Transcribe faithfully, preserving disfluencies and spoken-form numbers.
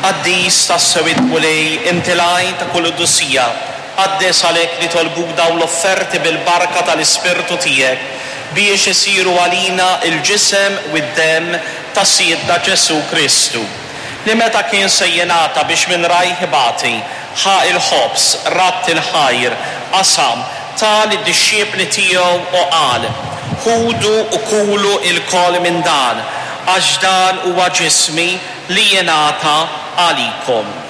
Qaddis tassew il-Mulej, inti l-għajn ta' kull qdusija, qaddes għalhekk nitolbuk dawn l-offerti bil-barka tal-Ispirtu tiegħek biex isiru għalina il-ġisem u d-demm ta' Sidna Ġesù Kristu. Li meta kien se jingħata biex minn rajh ibati, ħa il-ħobż, radd il-ħajr, qasam, ta lid-dixxipli tiegħu u qal: Ħudu u kulu lkoll minn dan, għax dan huwa ġismi li jingħata għalikom.